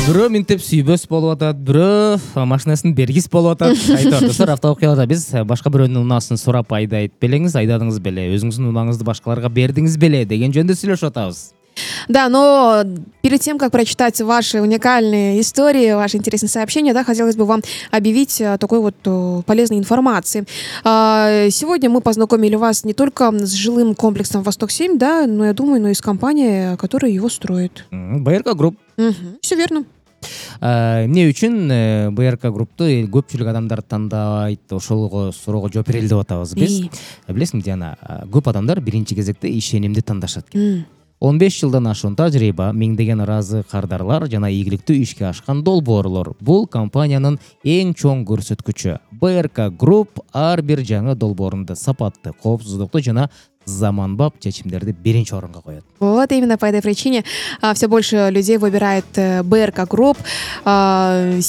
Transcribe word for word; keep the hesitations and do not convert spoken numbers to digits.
Бирөө минтеп сүйбөс болуп атат, бирөө машинасын бергис болуп атат. Айтор автоокуяларда биз башка бирөөнүн унаасын сурап айдайт белеңиз, айдадыңыз беле, өзүңүздүн унааңызды башкаларга бердиңиз беле деген жөнүндө сүйлөшүп атабыз. Да, но перед тем, как прочитать ваши уникальные истории, ваши интересные сообщения, да, хотелось бы вам объявить такой вот полезной информации. Сегодня мы познакомили вас не только с жилым комплексом Восток-семь, да, но я думаю, но и с компанией, которая его строит. БРК Групп. Угу. Все верно. Эмне үчүн БРК Группту көпчүлүк адамдар тандайт, ошолго суроого жооп берели деп атабыз биз. Билесиңби, Диана, көп адамдар биринчи кезекте ишенимди тандашат экен. он беш жылдан ашуун тажрыйба, миңдеген ыраазы кардарлар жана ийгиликтүү ишке ашкан долбоорлор. Бул компаниянын эң чоң көрсөткүчү. БРК Групп ар бир жаңы долбоорунда сапатты, коопсуздукту жана заманбап чечимдерди биринчи орунга коет. Вот именно по этой причине все больше людей выбирает БРК Групп.